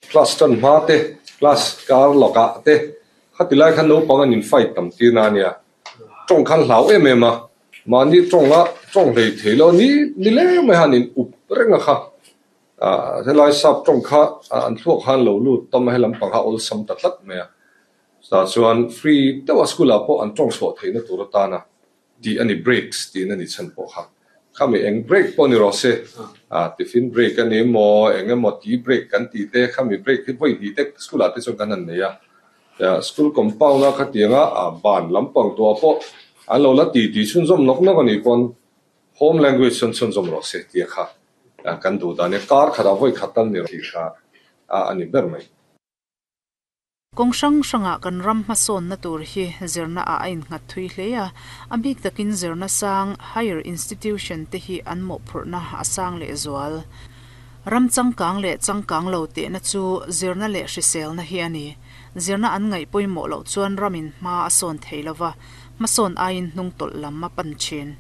Class tan hma te, class kar lawkah te khati lai khan naupang an in fight tam tir na ania. Tawng khan hlau em em a, mahni tawnga tawng hlei thei lo ni ni leng mai han in up reng a kha. Helai sap tawng kha an thluak khan lo lut tam a, helam pang kha awlsam ta tlat mai a. Chutah chuan free deuha school ah pawh an tawng chhuah theihna tur atana tih a ni, breaks tihna ni chhan pawh kha. Khami eng break pawh ni rawh se, tiffin break a ni emaw, eng emaw tea break kan tih te, khami break hi vawi hnih te school ah te chuan kan han nei a. School compound a khatianga ban lampang tuah pawh an lo la ti tih chhunzawm nawk nawk a nih pawn home language chuan chhunzawm rawh se tia kha kan duh dan e. Kar khatah vawi khat tal ni rawh tih kha a ni ber mai. Kawng hrang hrangah kan ram hmasawnna tur hi zirna ah a innghat thui hle a, a bik takin zirna sang, higher institution, te hi an mawhphurhna a sang lehzual. Ram changkang leh changkang lo tehna chu zirna leh hriselna hi a ni. Zirna an ngaih pawimawh loh chuan ramin hma a sawn thei lo va, hmasawn aiin hnung tawlh lam a pan thin.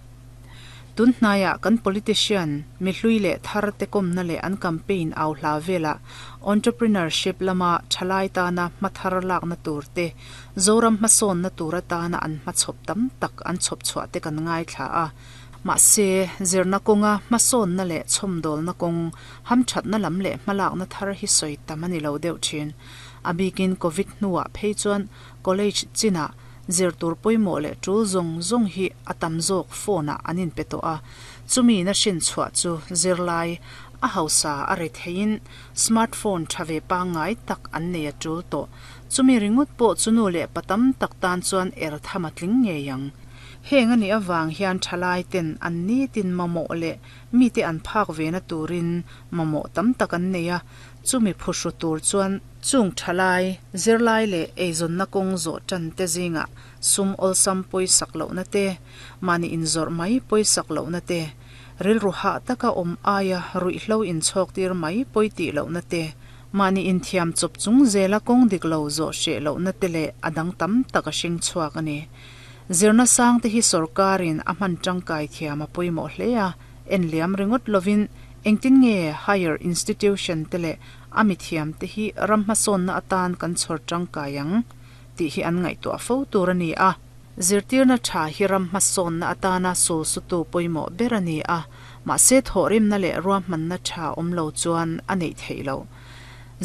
Tun hnaiah kan politician, mihlui leh thar te kawmna leh an campaign au hla velah entrepreneurship lama thalai tana hma thar lakna tur te, Zoram hmasawnna tur atana an hmachhawp tam tak an chhawp chhuah te kan ngaithla a. Mahse, zirna kawnga hmasawnna leh chhawmdawlna kawng, hamthatna lam leh hmalakna thar hi sawi tam a ni lo deuh thin. A bikin Covid hnuah phei chuan college chinah zir tur pawimawh leh tul zawng zawng hi a tam zawk phone-ah an inpe tawh a. Chumi na hrin chhuah chu zirlai a hausa a re theiin smartphone tha ve pangngai tak an nei a tul tawh. Chumi ringawt pawh chu nu leh pa tam tak tan chuan er tham a tling ngei ang. Heng a nih avang hian thalai ten an nitin mamawh leh mite an phak ve na turin mamawh tam tak an nei a, chumi phuhru tur chuan chung thalai, zirlai leh eizawnna kawng zawh tan te zingah sum awlsam pawisak lohna te, mahni inzawrh mai pawisak lohna te, rilru hah taka awm aia ruihhlo inchhawk tir mai pawi tih lohna te, mahni inthiam chawp chung zela kawng dik lo zawh hreh lohna te leh a dang tam tak a hring chhuak a ni. Zirna sang te hi sorkarin a hman tangkai thiam a pawimawh hle a, en liam ringawt lovin engtin nge higher institution te leh a mithiam te hi ram hmasawnna atan kan chhawr tangkai ang tih hi an ngaihtuah fo tur a ni a. Zirtirna tha hi ram hmasawnna atana sulsutu pawimawh ber a ni a, mahse thawhrimna leh ruahmanna tha awm lo chuan a neih theih loh.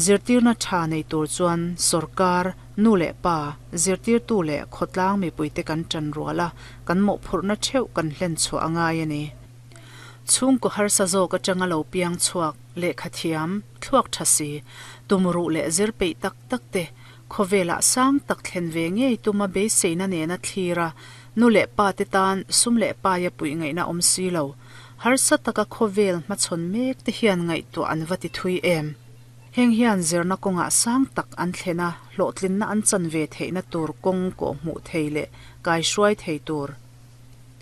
Zirtirna tha nei tur chuan sorkar, Nu leh pa, zirtirtu leh khawtlang mipuite kan ṭan rual a, kan mawhphurhna ṭheuh kan hlen chhuah a ngai a ni. Chhungkaw harsa zawk aṭanga lo piang chhuak, lehkha thiam, thluak ṭha si, tumruh leh zir peih tak tak te, khawvelah sang tak thlen ve ngei tuma beiseina nena thlir a, nu leh pa te tan sum leh paia puih ngaihna awm si lo, harsa taka khawvel hmachhawn mek te hian ngaihtuah an va ti thui em? Heng hian zirna kawngah sang tak an thlen a, hlawhtlinna an chan ve theihna tur kawng kawh hmuh thei leh kaihruai thei tur.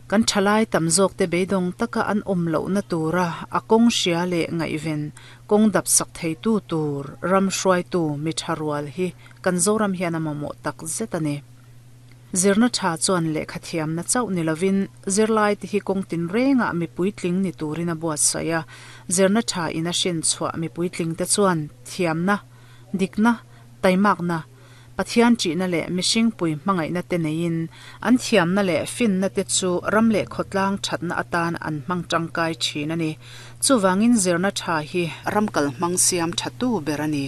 Kan thalai tam zawkte beidawng taka an awm lohna tura a kawng hria leh ngaihven kawng dap sak theitu tur ram hruaitu mi tha rual hi kan Zoram hian a mamawh tak zet a ni. Zirna tha chuan lehkha thiamna chauh ni lovin zirlai te hi kawng tinrengah mi puitling ni turin a buatsaih a, zirna tha in a hrin chhuah mi puitling te chuan thiamna, dikna, taimakna, Pathian ṭihna leh mihring pui hmangaihna te neiin an thiamna leh finna te chu ram leh khawtlang ṭhatna atan an hmang ṭangkai ṭhin a ni. Chuvangin zirna tha hi ram kalhmang siam ṭhatu ber a ni.